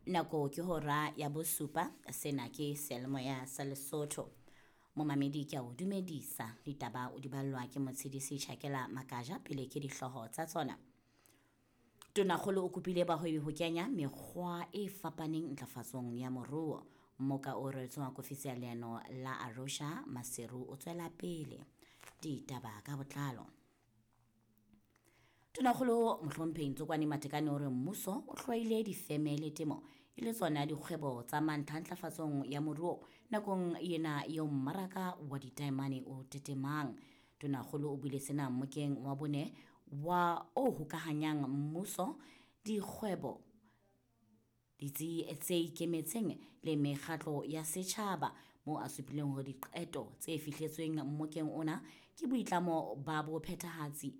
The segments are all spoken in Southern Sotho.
Nako ke hora ya bosupa, sena ke seyalemoya sa Lesotho. Momamedi ke a o dumedisa, ditaba o di ballwa ke Motshedisi Tjhakela Makaja pele ke dihlooho tsa tsona. Tonakgolo o kopile bahwebi ho kenya mekgwa e fapaneng ntlafatsong ya moruo. Mmoka o reretsweng wa kofisi ya leano la Arusha Maseru o tswela pele. Ditaba ka botlalo. Tonakgolo Mohlomphehi Ntsokwane Matekane o re mmuso o hlwaile difeme le temo e le tsona dikgwebo tsa mantlha ntlafatsong ya moruo nakong ena eo mmaraka wa ditaemane o tetemang. Tonakgolo o buile sena mmokeng wa bone wa o hokahanyang mmuso, dikgwebo, ditsi tse ikemetseng le mekgatlo ya setjhaba moo a supileng hore diqeto tse fihletsweng mmokeng ona ke boitlamo ba bophethahatsi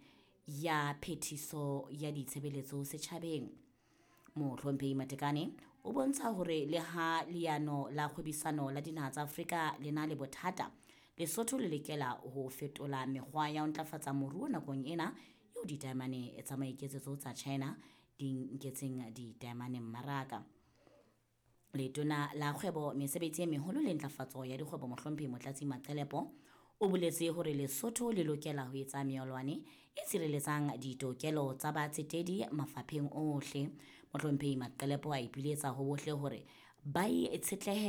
ya phethiso ya ditshebeletso setjhabeng. Mohlomphehi Matekane o bontsha hore le ha leano la kgwebisano la dinaha tsa Afrika le na le bothata, Lesotho le lokela ho fetola mekgwa ya ho ntlafatsa moruo nakong ena eo ditaemane tsa maiketsetso tsa China di nketseng ditaemane mmaraka. Letona la kgwebo, mesebetsi e meholo le ntlafatso ya dikgwebo Mohlomphehi Motlatsi Maqelepo o boletse hore Lesotho le lokela ho etsa meolwane e tshireletsang ditokelo tsa batsetedi mafapheng ohle. Mohlomphehi Maqelepo a ipiletsa ho bohle hore ba itshetlehe.